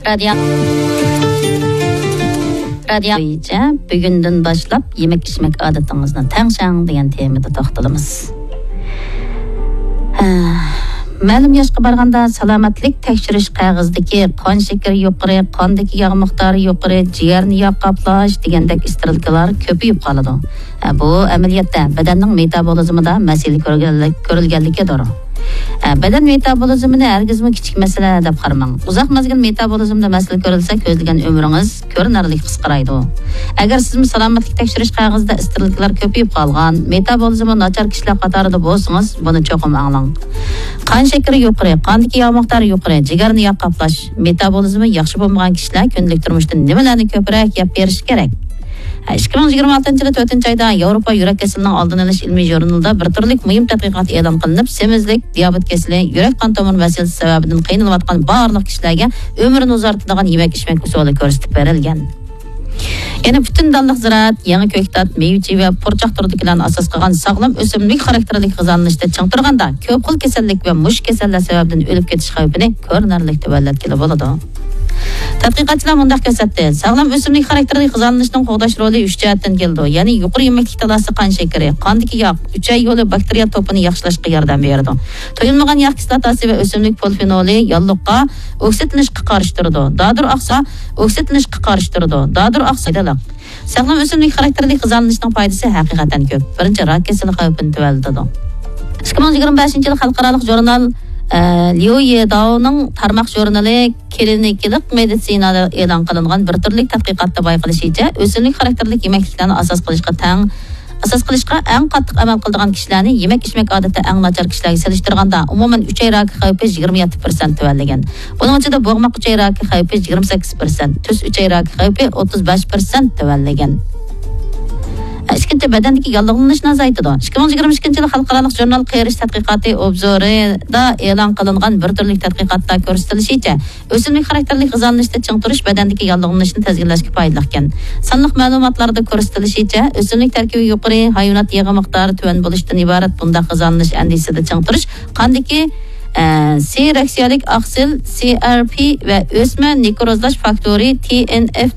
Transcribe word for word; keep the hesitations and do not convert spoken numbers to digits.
رادىيو. رادىيو بويىچە بۈگۈندىن باشلاپ يېمەك-ئىچمەك ئادىتىڭىزنى تەڭشەڭ دېگەن تېمىدا توختىلىمىز. ھە، مەلۇم ياشقا بارغاندا سالامەتلىك تەكشۈرۈش قەغىزىدىكى قان شېكىرى يۇقىرى، قاندىكى ياغ مىقدارى يۇقىرى، جىگەرنى ياغ قاپلاش دېگەندەك ئىستېرىلكىلار كۆپىيىپ قالىدۇ. ھە، بۇ ئەمەلىيەتتە بەدەننىڭ مېتابولىزمىدا مەسىلە كۆرگەنلىك-، كۆرۈلگەنلىكىدۇر. ھە، بەدەن مېتابولىزمىنى ھەرگىزمۇ كىچىك مەسىلە دەپ قارىماڭ. ئۇزاق مەزگىل مېتابولىزمدا مەسىلە كۆرۈلسە، كۆزلىگەن ئۆمرىڭىز كۆرۈنەرلىك قىسقىرايدۇ. ئەگەر سىزمۇ سالامەتلىك تەكشۈرۈش قەغىزىدە ئىستېرىلكىلار كۆپىيىپ قالغان، مېتابولىزمى ناچار كىشىلەر قاتارىدا بولسىڭىز، بۇنى چوقۇم ئاڭلاڭ. قان شېكىرى يۇقىرى، قاندىكى ياغ مىقدارى يۇقىرى، جىگەرنى ياغ قاپلاش، مېتابولىزمى ياخشى بولمىغان كىشىلەر كۈندىلىك تۇرمۇشتا نېمىلەرنى كۆپرەك يەپ بېرىشى كېرەك؟ ئىككى مىڭ يىگىرمە ئالتىنچى يىلى تۆتىنچى ئايدا ياۋروپا يۈرەك كېسىلىنىڭ ئالدىنى ئېلىش ئىلمىي ژۇرنىلىدا بىر تۈرلۈك مۇھىم تەتقىقات ئېلان قىلىنىپ، سېمىزلىك، دىيابېت كېسىلى، يۈرەك قان تومۇر مەسىلىسى سەۋەبىدىن قىينىلىۋاتقان بارلىق كىشىلەرگە ئۆمرىنى ئۇزارتىدىغان يېمەك-ئىچمەك ئۇسۇلى كۆرسىتىپ بېرىلگەن. يەنە پۈتۈن دانلىق زىرائەت، يېڭى كۆكتات، مېۋە-چىۋە، پۇرچاق تۈرىدىكىلەرنى ئاساس قىلغان ساغلام ئۆسۈملۈك خاراكتېرلىك غىزالىنىشتا چىڭ تۇرغاندا، كۆپ خىل كېسەللىك ۋە مۇشۇ كېسەللەر سەۋەبىدىن ئۆلۈپ كېتىش خەۋپىنى كۆرۈنەرلىك تۆۋەنلەتكىلى بولىدۇ. تەتقىقاتچىلار مۇنداق كۆرسەتتى، ساغلام ئۆسۈملۈك خاراكتېرلىك غىزالىنىشنىڭ قوغداش رولى ئۈچ جەھەتتىن كېلىدۇ، يەنى يۇقىرى يېمەكلىك تالاسى، قان شېكىرى، قاندىكى ياغ، ئۈچەي يولى باكتېرىيە توپىنى ياخشىلاشقا ياردەم بېرىدۇ. تويۇلمىغان ياغ كىسلاتاسى ۋە ئۆسۈملۈك پولفېنولى ياللۇغقا ئوكسىدلىنىشقا قارشى تۇرىدۇ. دادۇر ئاقسا، ئوكسىدلىنىشقا قارشى تۇرىدۇ. دادۇر ئاقسا پايدىلىق. ساغلام ئۆسۈملۈك خاراكتېرلىك غىزالىنىشنىڭ پايدىسى ھەقىقەتەن كۆپ. بىرىنچى، راك كېسىلى خەۋپىنى تۆۋەنلىتىدۇ. ئىككى مىڭ يىگىرمە بەشىنچى يىل خەلقئارالىق ژۇرنال، ئە، ليۇ يېداۋنىڭ تارماق ژۇرنىلى كلىنىكىلىق مېدىتسىنادا ئېلان قىلىنغان بىر تۈرلۈك تەتقىقاتتا بايقىلىشىچە، ئۆسۈملۈك خاراكتېرلىك يېمەكلىكلەرنى ئاساس قىلىشقا تەڭ، ئاساس قىلىشقا ئەڭ قاتتىق ئەمەل قىلىدىغان كىشىلەرنى يېمەك-ئىچمەك ئادىتى ئەڭ ناچار كىشىلەرگە سېلىشتۇرغاندا، ئومۇمەن ئۈچەي راكى خەۋپى يىگىرمە يەتتە پىرسەنت تۆۋەنلىگەن. بۇنىڭ ئىچىدە بوغماق ئۈچەي راكى خەۋپى يىگىرمە سەككىز پىرسەنت، تۈز ئۈچەي راكى خەۋپى ئوتتۇز بەش پىرسەنت تۆۋەنلىگەن. ئىككىنچى، بەدەندىكى ياللۇغلىنىشنى ئازايتىدۇ. ئىككى مىڭ يىگىرمە ئىككىنچى يىل خەلقئارالىق ژۇرنال قېرىش تەتقىقاتى ئوبزورىدا ئېلان قىلىنغان بىر تۈرلۈك تەتقىقاتتا كۆرسىتىلىشىچە، ئۆسۈملۈك خاراكتېرلىك غىزالىنىشتا چىڭ تۇرۇش بەدەندىكى ياللۇغلىنىشنى تىزگىنلەشكە پايدىلىقكەن. سانلىق مەلۇماتلاردا كۆرسىتىلىشىچە، ئۆسۈملۈك تەركىبى يۇقىرى، ھايۋانات يېغى مىقدارى تۆۋەن بولۇشتىن ئىبارەت بۇنداق غىزالىنىش ئەندىزىسىدە چىڭ تۇرۇش قاندىكى، ئە، سېرەكسىيەلىك ئاقسىل، سى ئار پى، ۋە ئۆسمە نېكروزلاش فاكتورى، تى ئېن ئېف